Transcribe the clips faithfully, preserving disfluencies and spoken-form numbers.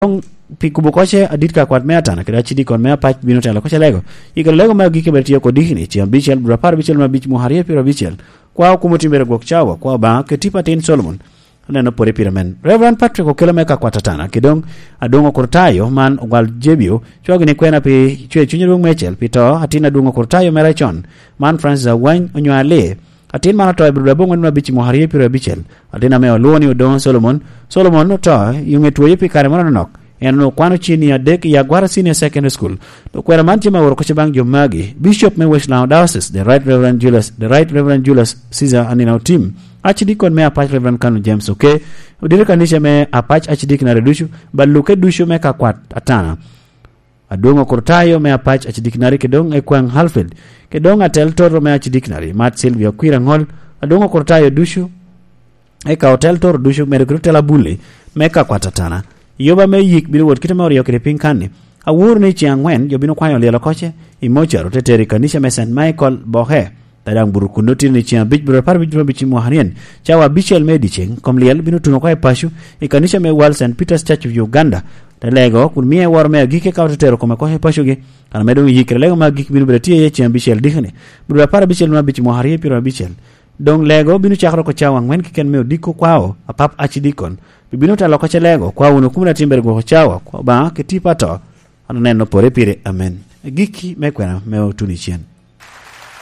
Doŋ pi kubo koce adit ka kwat me atana kede acidikon me apac bino telo koce lego. Yikere lego me agikki bene tye oko dikini, ceng abicel, dwe apar abicel me abic, mwaka aryo pyero abicel. Kwa okumo timbere gwok cawa, kwa Obaŋa, ke tipo atin Solomon. Aneno pwode pire men. Reverend Patrick okelo me ka kwat atana, ki doŋ Adwoŋ Okurtayo man ogwal Jebio, cwagi ni kwena pi cwer cuny adwoŋ mecel, pi to atin Adwoŋ Okurtayo mere con, man Francis Awany onyo Ali. Atin man oto i Abril aboŋwen me abic i mwaka aryo pyero abicel. Atin ame olwoŋo ni Odoŋo Solomon. Solomon oto i ŋe twoye pi kare moro anonok. En onwoŋo kwano cini adek i Agwara Senior Secondary School. Okwena man tye me oro kocce baŋ jo magi. Bishop me West Lango Diocese, the Right Reverend Julius, the Right Reverend Julius Caesar Anina Otim. Acidikon me Apac Reverend Kanu James Oke. Odiro kanica me Apac Acidiknari ducu, ba luke ducu me ka kwat atana. Adwoŋ Okurtayo me Apac Acidikinari, ke doŋ Ekwaŋ Halfred, ke doŋ atel toto me Acidikinari, Mat Sylvia Okwir Aŋol, Adwoŋ Okurtayo ducu, eka otel toto ducu, medo kede otel abulli me ka kwat atana. Yoba me yik bino wot kite me oryo kede piny kanni. Aworo ni ceŋ aŋwen jo bino kwanyo lyel oko ce i mocar, ote tero i kanica me Saint Michael Bohe. Pe daŋ buto kun otino ni ceŋ abic, buto apar abic, buto abic i mwaka aryen, cawa abicel me dyeceŋ, kom lyel bino tuno oko i paco, i kanica me World Saint Peter's Church of Uganda. Te lego, kun mie woro me agikki ka ote tero kome oko i pacogi. Kan ame doŋ iyikere, lego me agikki bino bedo tye iye ceŋ abicel dikani, buto apar abicel me abic i mwaka aryo pyero abicel. Doŋ lego bino cakere oko cawa aŋwen keken me odiko kwao, apap acidikon. Bibino telo oko ce lego, kwa wunu kumina timbere gwoko cawa, kwa Obaŋa, ke tipo ato. An oneno pore pire, amen. Agikki me kwena me otuno i cen.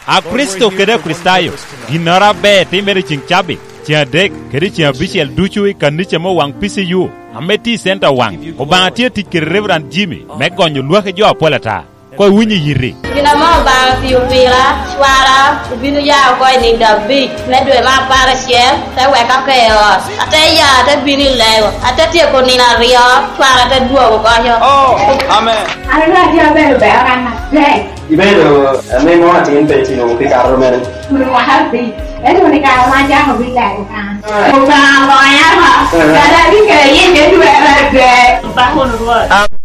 A Kricito kede Akricitayo, ginnoro aber timere i ceŋ cabit, ceŋ adek, kede ceŋ abicel ducu i kanica me Owaŋ P C U, ame tye i Center Owaŋ. Obaŋa tye tic kede Reverend Jimmy me gonyo lwaki jo apol ata. Koŋ iwiny i yiti. Gin ame Obaŋa otio pira, cwara obino ya oko i nino abic me dwe me apar acel, te weka pe i ot. Ate ya, ate bino i lego, ate tyeko nino aryo, cwara te dwogo oko. Oh, amen. An onwoŋo atye abedo bero kan atek. Ibedo ame mo atin pe itino pi kato mere? Kun mwaka abic. Ento ni kare ma acako bino lego kan. Obaŋa ogonya oko. Kara abikelo yie me dwe me adek. Obaŋa won Rwot.